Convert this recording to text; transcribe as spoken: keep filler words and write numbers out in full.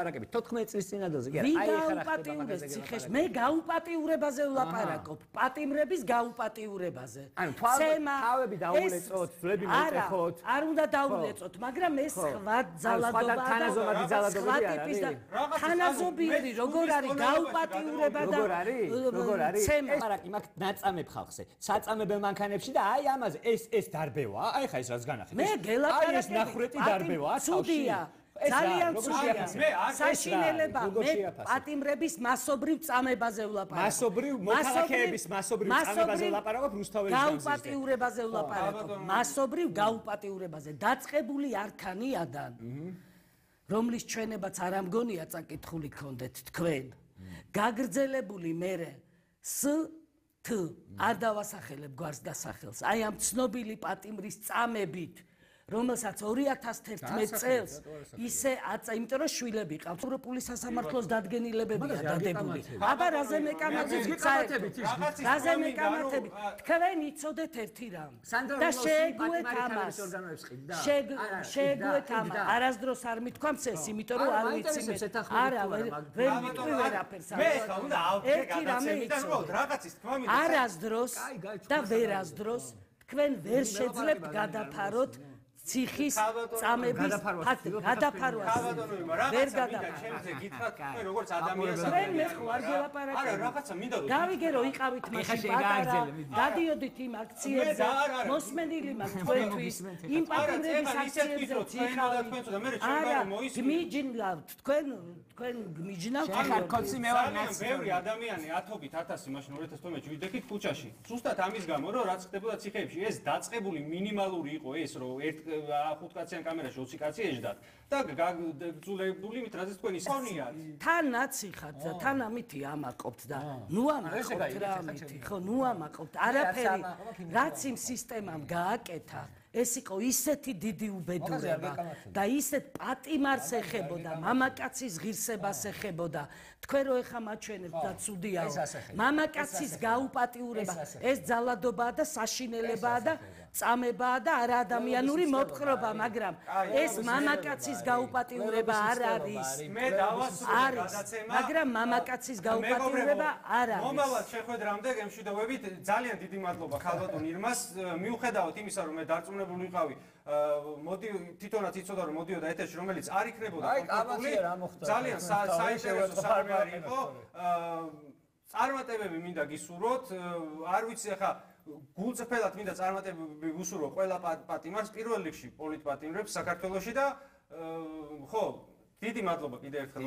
ლაპარაკები თოთხმეტ წლის წინადელზე კი არა აი ეხლა გაუპატიურებს ციხეს მე გაუპატიურებაზე ვლაპარაკობ პატიმრების გაუპატიურებაზე ანუ თავები დაულეწოთ ძვლები მოეთეხოთ არ უნდა დაულეწოთ მაგრამ ეს სხვა ძალადობა და თანაზომადი ძალადობები არ არის თანაზობიერი როგორ არის გაუპატიურება და როგორ არის როგორ არის ლაპარაკი მაქვს ნაწამებ ხალხზე საწამებელ მანქანებში და აი ამაზე ეს ეს დარბევა აი ხა ეს რაც განახეთ მე გელაპარაკები ეს ნახრეტი დარბევა ცუდია ძალიან ცუდია საშინელება მე პატიმრების მასობრივ წამებაზე ვლაპარაკობ მასობრივ მოქალაქეების მასობრივ წამებაზე ვლაპარაკობ რუსთაველის გაუპატიურებაზე ვლაპარაკობ მასობრივ გაუპატიურებაზე დაწყებული არქანიადან რომლის ჩვენებაც არ ამგონია წაკითხული გქონდეთ თქვენ გაგრძელებული მერე ს თ არ დავასახელებ გვარს და სახელს აი ამ ცნობილი პატიმრის წამებით რომელსაც ორი ათას თერთმეტ წელს ისე აწა იმიტომ რომ შვილები ყავთ ევროპული სასამართლოს დადგენილებებია დადებული აბა რაზე მეკამათებით რაზე მეკამათებით თქვენ იცოდეთ ერთი რამ და შეეგუეთ ამას შეეგუეთ ამას არასდროს არ მithქვამს ეს იმიტომ რომ არ ვიცი არა ვერ ვიტყვი ვერაფერს მე ხა უნდა ავდგე გადაცემიდან რაღაცის თქვა მინდა არასდროს და ვერასდროს თქვენ ვერ შეძლებთ გადაფაროთ ციხის წამების გადაფარვას ვერ გადაფარვას გითხრათ თქვენ როგორც ადამიანს თქვენ მე ხوار გელაპარაკებთ არა რაღაცა მინდა გავიგე რომ იყავით მაშინ პატარა გადიოდით იმ აქციებზე მოსმენილი მაქვს თქვენთვის იმ პატიმრების აქციებზე არა გმიჯნავთ თქვენ თქვენ გმიჯნავთ ხარ კოცი მე ვარ ნაცი ბევრი ადამიანი ათობით ათასი მაშინ ორ ათას თორმეტში ვიდექით ქუჩაში ზუსტად ამის გამო რომ რაც ხდებოდა ციხეებში ეს დაწყებული მინიმალური იყო ეს რომ ერთ ხუთ კაციან კამერაში ოცი კაცი ეждათ და გაგძულებული მით რაზეც თქვენი სონია თან ნაცი ხართ და თან ამითი ამაყობთ და ნუ ამაყობთ რა ამითი ხო ნუ ამაყობთ არაფერი რაც იმ სისტემამ გააკეთა ეს იყო ისეთი დიდი უბედურება და ისეთ პატიმარს ეხებოდა მამაკაცის ღირსებას ეხებოდა თქვენ რო ეხა მაჩვენებთ და ცუდია მამაკაცის გაუპატიურება ეს ძალადობაა და საშინელებაა და წამებაა და არა ადამიანური მოპყრობა მაგრამ ეს მამაკაცის გაუპატიურება არ არის მე დავასრულე გადაცემა მაგრამ მამაკაცის გაუპატიურება არ არის მომავალ შეხვედრამდე გემშვიდობებით ძალიან დიდი მადლობა ხალბატონ ირმას მიუხედავად იმისა რომ მე დარწმუნებული ვიყავი მოდი თვითონაც იცოდა რომ მოდიოდა ეთერში რომელიც არ იქნებოდა კონკრეტული ძალიან საინტერესო საუბარი იყო წარმატებები მინდა გისურვოთ არ ვიცი ახლა გულწრფელად მინდა წარმატებები ვუსურვო ყველა პატიმარს პირველ რიგში პოლიტპატიმრებს საქართველოში და ხო დიდი მადლობა კიდევ ერთხელ